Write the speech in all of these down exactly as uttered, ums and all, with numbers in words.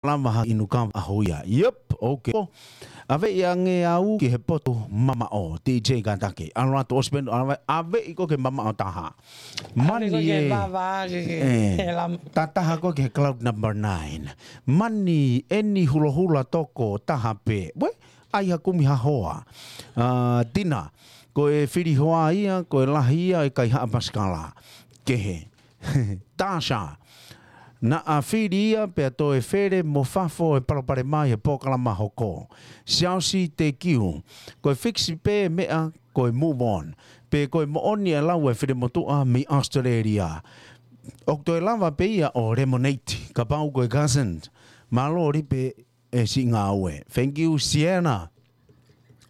lava ha inu kava ʻaho ia. Yep, okay. ʻAveʻi ange au ki he potu mamaʻo, D J Katake. ʻAlu atu ʻosi pē ʻave, ʻaveʻi koe ki he mamaʻo taha. Mani ē. Ē, tataha koe ki he cloud number nine. Mani eni hulohula toko taha pē. Uē, ʻai ha kumi ha hoa. ʻA, Tina, ko e fili hoa ia, ko e lahi ia ʻo e kaihaʻa pasikala. Kehe. Tasha. Naʻa fili ia pea toe fele mo fafo e palopalema he polokalama hoko. Siaosi, thank you. Ko e fix pē meʻa, ko e move on. Pe ko e moʻoni e lau e fili motuʻa mei Australia. ʻOku toe lava pē ia ʻo lemonade, kapau ko e cousin. Mālō Lipe e siʻi ngāue. Thank you, Sienna.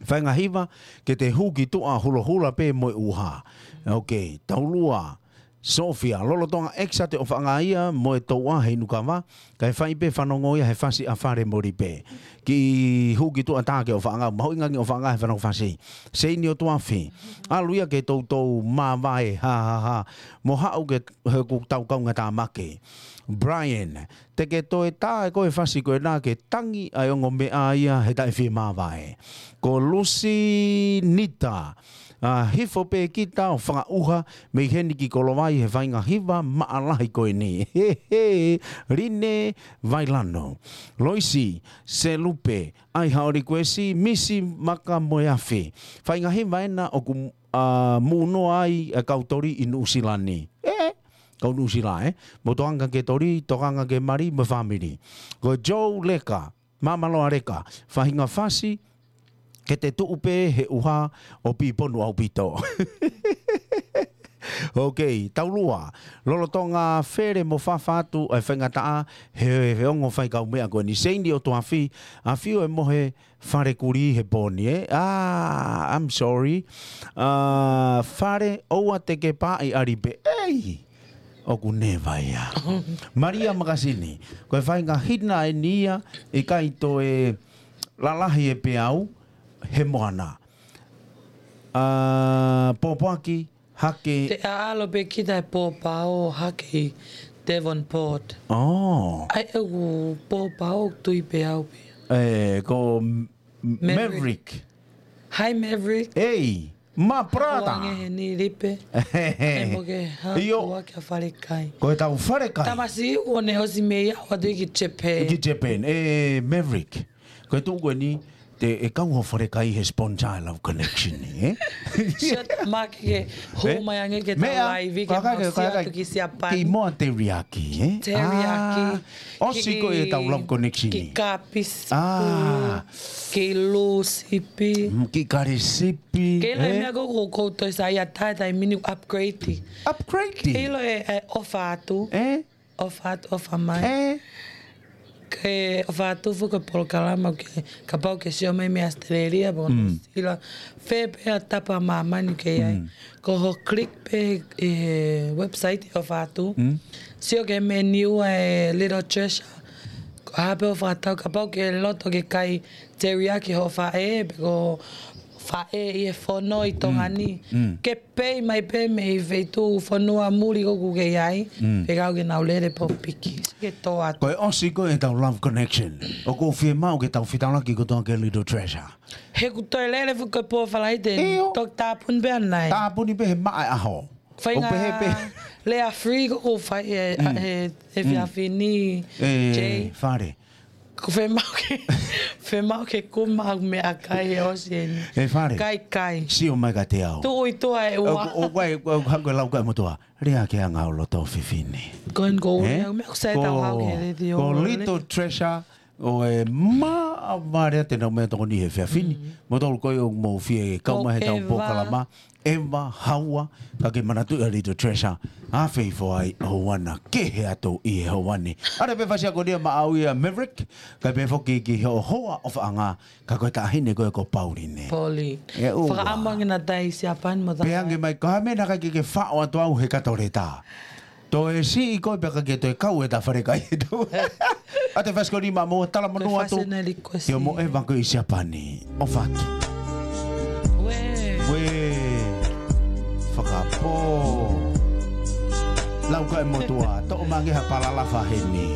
Fainga hiva, ke te hū ki tuʻa hulohula pē mo e ʻuha. Okay, taulua. Sofia, lolotonga ʻekiso ʻa e ʻofaʻanga ia mo e touʻa he inu kava, kae fai pē fanongo ia he fasi ʻa Fale mo Lipe. Kiʻi hū ki tuʻa tā ki he ʻofaʻanga, mahuʻinga ange ʻofaʻanga he fanongo fasi. Seini ʻo Tuafi. ʻAlu ia ke toutou māvae, ha, ha, ha. Mo haʻu ke, he ʻoku tau kaungā tāmaki. Brian, te ke toe tā ʻe koe e fasi ko ena ke tangi ʻa e ongo meʻa ia he taʻe fie māvae. Ko Lusinita, ʻa, hifo pē kita ʻo fakaʻuha mei heni ki Kolovai he fainga hiva maʻalahi ko eni. He, he, Line Vailano. Loisi, Selupe, ʻai haʻo likuesi, Misi Maka mo e afi. Fainga hiva ena ʻoku, ʻa, mūnoa ai e kau toli ʻi Nuʻusila ni. Ē, kau Nuʻusila, ē? Mo tokanga ke toli, tokanga ke mali, mo e fāmili. Ko Joe Leka, Māmaloa Leka, faʻahinga fasi, ke te tuʻu pē he ʻuha ʻo piponu ʻaupito. Okay, taulua. Lolotonga fele mo fafo atu e faingataʻa he, he ongo faikaumeʻa ko eni. Seini ʻo Tuafi, ʻafio e mohe Fale Kuli he pō ni, ē? Ah, I'm sorry. Ah, Fale, ʻoua te ke pāʻi ʻa Lipe. Ei! ʻOku neva ia. Malia Makasini, ko e faʻahinga hina eni ia, ʻikai toe lalahi e peau he moana. Ah, pōpoaki, hake. Te ʻaʻalo pē kita e pōpao hake ʻi Devonport. Oh. ʻAi ʻeku pōpao tui pē au pē. Ē, ko M-, Maverick. Maverick. Hi, Maverick. Ei, ma prata. Hoange he ni Lipe. He mo ke ha Io. Ua kia Falekai. Ko e tau Falekai. Tamasiʻi ʻoku ne ʻosi mei au atu ki Japan. Ki Japan. Ē, Maverick. Ko e tuʻu ko eni, te e kau ho Falekai he sponsor e Love Connection, ē? Shit, ma ke hū mai ange ke tau Meʻa, laivi ke ka, ka, mau ka, ka, atu ki Siapani. Ki moa teriyaki, ē? Teriyaki. Ah, ʻosi ko e tau Love Connection. Ki kapis. Ah. Ki lūsipi. Mm, ki karisipi, Ke la ē? Meʻa ko, ko, ko toi sa ia tai, tai mini upgrade. Upgrade? Ke ʻilo e, e ʻofa atu. Ē? ʻOfa atu, ʻofa mai. Ē? Ke ʻofa atu fuko polokalama ke, kapau ke sio mai mei Australia, pō Mm. Nuʻusila. Fē pē ʻa e tapa māmani ke ai. Mm. Ko hoʻo click pē e website ʻofa atu. Mm. Sio ki he menu ʻa e Little Treasure. Ko e hā pē hoʻo fakatau kapau ke loto ke kai teriyaki hoʻo faʻē, pe ko e faʻē ʻi he fono ʻi Tonga ni. Mm. Mm. Ke pei mai pē mei he feituʻu fonua muli ʻoku ke ʻi ai, Mm. pe kau ke nau lele pō piki. Ke tō atu. Ko e ʻosi ko e tau Love Connection. ʻOku ou fiemaʻu ke tau fetaulaki kotoa ki he Little Treasure. He ʻoku toe lele fuko e pō Falaite. ʻIo. Toki tāpuni pē ʻanai. Tāpuni pē he maʻa e ʻaho. Fai ʻO pehē pē. Lea free ko ʻoku fai e, Mm. e, e Mm. fiafini, Ē, Jay. Fale. Ko fiemaʻu ke, fiemaʻu ke kuma au meʻakai he ʻosi eni. Ē, Fale. Kai, kai. Sio mai kiate au. Tuʻu ʻi tuʻa e ua. ʻO, ʻo, ʻo, ʻo, ʻo, hangē ko e lau ko e motuʻa. Lea ki he anga ʻo loto fefine. Ko en ko Ē? Ule, au meʻa ʻoku sai Ko, tau hau ke le dio ko ole. Little Treasure, ʻo e maʻa vale te nau meʻa tokoni he fiafini. Mm. Mo tolu ko e ʻoku mou fie kau Ko mai he tau Eva. Polokalama. Eva, Haua, ka ke manatuʻi ʻa Little Treasure, ʻa fei foʻi ʻohana kehe atu ʻi he ʻohana. ʻAre pē fasi ako nia maʻau ia Maverick, ka pē foki ki he hoa ʻofaʻanga, ka ko e taʻahine ko e ko Pauline. Pauline. ʻE ʻoua. Fakaʻamu ange naʻa tau ʻi Siapani mo tau. Pehē ange mai, ka mena ka ke ke faʻo atu au he katoleta. Toe siʻi koe pea ka ke toe kau e ta Falekai e tau. ʻA e fasi ko eni maʻa moua talamonū atu. Ko e fasi na request. Te o mo e vako ʻi Siapani. ʻOfa atu. Uē. Uē. Fakapō. Lau ka e motuʻa. Toʻo mai ange ha palalafa heni.